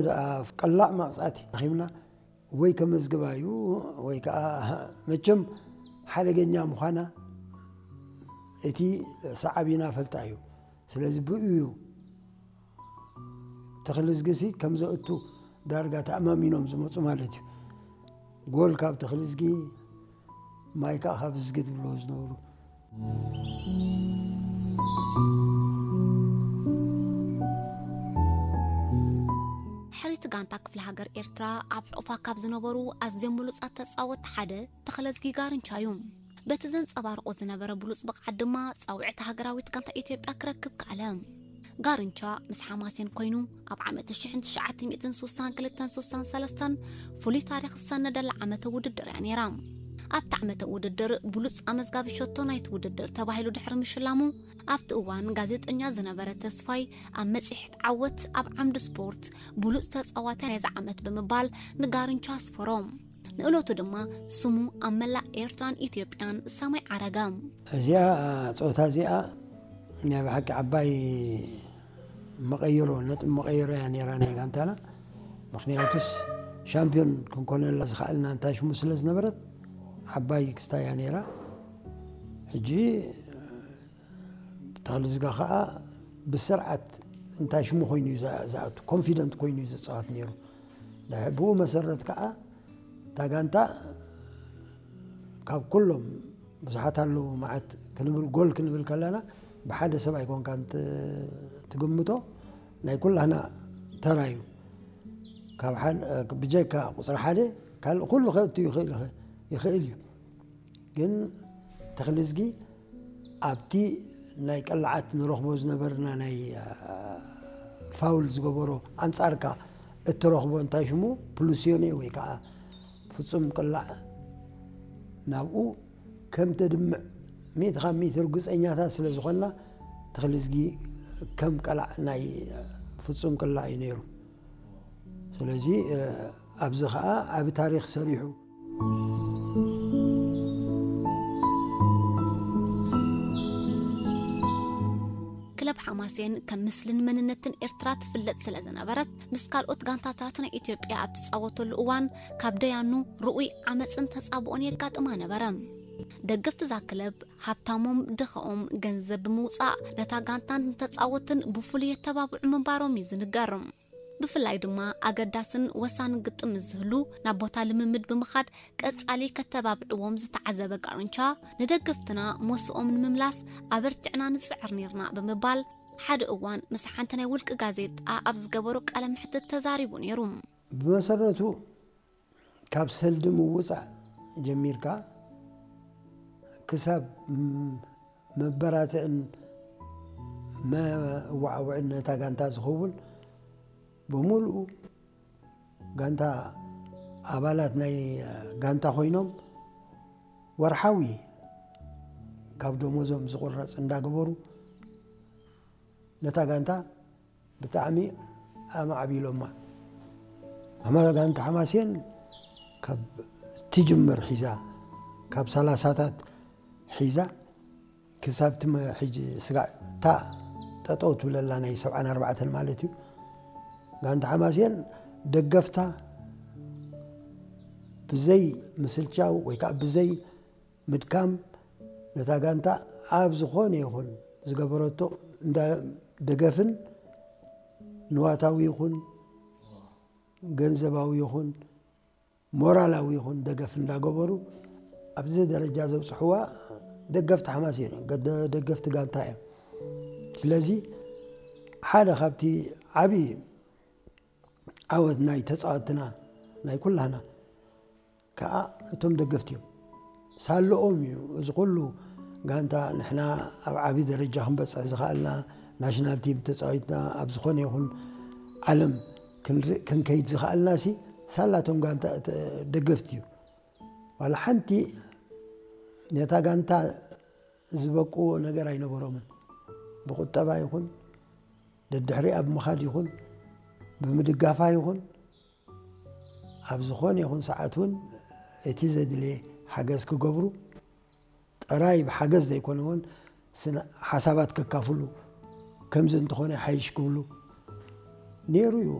ደኣ ቀላዕ መቕጻዕቲ ረኺብና ወይ ከመዝግባ እዩ ወይ ከዓ መቸም ሓደገኛ ምዃና እቲ ሰዓቢና ፈልጣ እዩ። ስለዚ ብኡ እዩ ተኽልዝጊ ሲ ከም ዘእቱ ዳርጋ ተኣማሚኖም ዝመፁ ማለት እዩ። ጎል ካብ ተኽልዝጊ፣ ማይ ከዓ ካብ ዝጊ ትብልዎ ዝነበሩ። ሕሪት ጋንታ ክፍለ ሃገር ኤርትራ ኣብ ሕቑፋ ካብ ዝነበሩ ኣዝዮም ብሉጻት ተጻወትቲ ሓደ ተኽለዝጊ ጋርንቻ እዩ። በቲ ዘንጸባርቆ ዝነበረ ብሉጽ ብቕዓት ድማ ጻውዕቲ ሃገራዊት ጋንታ ኢትዮጵያ ክረክብ ከኣለ። ጋርንቻ ምስ ሓማሴን ኮይኑ ኣብ ዓመት ሽሕን ትሽዓተ ሚእትን ስሳን ክልተን ስሳን ሰለስተን ፍሉይ ታሪኽ ዝሰነደላ ዓመተ ውድድር እያ ነይራ። ኣብቲ ዓመተ ውድድር ብሉጽ ኣመዝጋቢ ሸቶ ናይቲ ውድድር ተባሂሉ ድሕሪ ምሽላሙ ኣብቲ እዋን ጋዜጠኛ ዝነበረ ተስፋይ ኣብ መጽሔት ዓወት ኣብ ዓምዲ ስፖርት ብሉጽ ተጻዋታይ ናይዚ ዓመት ብምባል ንጋርንቻ ኣስፈሮ። ንእለቱ ድማ ስሙ ኣብ መላእ ኤርትራን ኢትዮጵያን ሰማይ ዓረገ። እዚኣ ጾታ እዚኣ ናይ ብሓቂ ዓባይ መቐየሮ ነጥብ መቐየሮ እያ ነይራ ናይ ጋንታና። ምክንያቱስ ሻምፒዮን ክንኮነላ ዝኸኣልና እንታይ ሽሙ ስለ ዝነበረት ዓባይ ክስታ እያ ነይራ። ሕጂ ተኽልዝጋ ከዓ ብስርዓት እንታይ ሽሙ ኮይኑ እዩ ዝኣ- ዝኣቱ፣ ኮንፊደንት ኮይኑ እዩ ዝፃወት ነይሩ። ድሕ- ብኡ መሰረት ከዓ እታ ጋንታ ካብ ኩሎም ብዙሓት ኣለዉ መዓት ክንብል ጎል ክንብል ከለና ብሓደ ሰብ ኣይኮንካን ት- ትግምቶ፣ ናይ ኩላህና ተራ እዩ። ካብ ሓደ ብጀካ ቁፅሪ ሓደ ካልእ ኩሉ ከእቱ ይኽእል ይኽእል- ይኽእል እዩ። ግን ተኽልዝጊ ኣብቲ ናይ ቀላዓት ንረኽቦ ዝነበርና ናይ ፋውል ዝገበሮ ኣንጻርካ እትረኽቦ እንታይ ሽሙ ፕሉሲዮኔ ወይ ከዓ ፍጹም ቅላዕ ናብኡ ከም ተድምዕ ሚእቲ ካብ ሚእቲ ርግጸኛታት ስለ ዝኾንና ተኽልዝጊ ከም ቀላዕ ናይ ፍጹም ቅላዕ እዩ ነይሩ። ስለዚ ኣብዚ ከዓ ዓቢ ታሪኽ ሰሪሑ። ክለብ ሓማሴን ከም ምስልን መንነትን ኤርትራ ትፍለጥ ስለ ዝነበረት ምስ ካልኦት ጋንታታት ናይ ኢትዮጵያ ኣብ ትጻወተሉ እዋን ካብ ደያኑ ርኡይ ዓመፅን ተጻብኦን የጋጥማ ነበረ። ደገፍቲ እዛ ክለብ ሃብታሞም ድኻኦም ገንዘብ ብምውፃእ ነታ ጋንታን ንተጻወትን ብፍሉይ የተባብዑ ምንባሮም እዩ ዝንገር። ብፍላይ ድማ ኣገዳስን ወሳንን ግጥም ምስ ዝህሉ ናብ ቦታ ልምምድ ብምኻድ ቀጻሊ ከተባብዕዎም ዝተዓዘበ ጋርንቻ ንደገፍትና ሞስኦም ንምምላስ ኣበርቲዕና ንጽዕር ነርና ብምባል ሓደ እዋን ምስ ሓንቲ ናይ ውልቂ ጋዜጣ ኣብ ዝገበሮ ቃለ መሕትት ተዛሪቡ ነይሩ። ብመሰረቱ ካብ ሰልዲ ምውፃእ ጀሚርካ ክሳብ መበራትዕን መዋዕውዕን ነታ ጋንታ ዝኸውን ብምሉኡ ጋንታ ኣባላት ናይ ጋንታ ኮይኖም ወርሓዊ ካብ ደሞዞም ዝቁረፅ እንዳገበሩ ነታ ጋንታ ብጣዕሚ ኣማዕቢሎማ። ኣማ ጋንታ ሓማሴን ካብ ትጅምር ሒዛ ካብ ሰላሳታት ሒዛ ክሳብ ትመ ሕጂ ስጋዕ እታ ጠጠው ትብለላ ናይ ሰብዓን ኣርባዕተን ማለት እዩ። ጋንታ ሓማሴን ደገፍታ ብዘይ ምስልቻው ወይ ከዓ ብዘይ ምድካም ነታ ጋንታ ኣብ ዝኾነ ይኹን ዝገበረቶ እንዳ ደገፍን ንዋታዊ ይኹን ገንዘባዊ ይኹን ሞራላዊ ይኹን ደገፍ እንዳገበሩ ኣብዚ ደረጃ ዘብፅሕዋ ደገፍቲ ሓማሴን እዮም፣ ገደ- ደገፍቲ ጋንታ እዮም። ስለዚ ሓደ ካብቲ ዓብዪ ዓወት ናይ ተፃወትና ናይ ኩላህና ከዓ እቶም ደገፍቲ እዮም። ሳለኦም እዩ እዚ ኩሉ ጋንታ ንሕና ኣብ ዓብዪ ደረጃ ክንበፅሕ ዝኸኣልና ናሽናል ቲም ተፃዊትና ኣብ ዝኾነ ይኹን ዓለም ክንርኢ- ክንከይድ ዝኸኣልና ሲ ሳላቶም ጋንታ ተ- ደገፍቲ እዩ። ዋላ ሓንቲ ነታ ጋንታ ዝበቅዎ ነገር ኣይነበሮምን። ብቁጠባ ይኹን ደድሕሪኣ ብምኻድ ይኹን ብምድጋፋ ይኹን ኣብ ዝኾነ ይኹን ሰዓት እውን እቲ ዘድልየ ሓገዝ ክገብሩ ጥራይ ብሓገዝ ዘይኮነ እውን ስነ ሓሳባት ከካፍሉ ከምዚ እንተኾነ ሓይሽ ክብሉ ነይሩ እዩ።